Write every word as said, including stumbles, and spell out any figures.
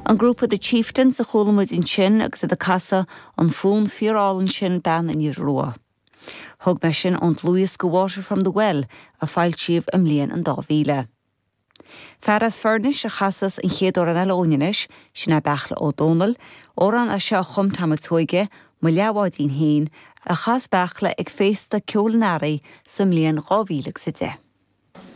An grúpa The Chieftains a chuala muid ansin agus iad ag casadh an fonn fíorálainn sin Bean an Iora Rua. Thug mé sin ón dlúthdhiosca Water from the Well a foilsíodh i mbliain an dá mhíle. Fear as Foirnis a chasas an chéad amhrán eile anois sin é Beartla Ó Domhnaill, amhrán é seo a chum Tom Ó Tuaige, Mo leathbháidín féin, a chas Beartla ag féasta ceoil an Earraigh sa mbliain dhá mhíle agus a deich.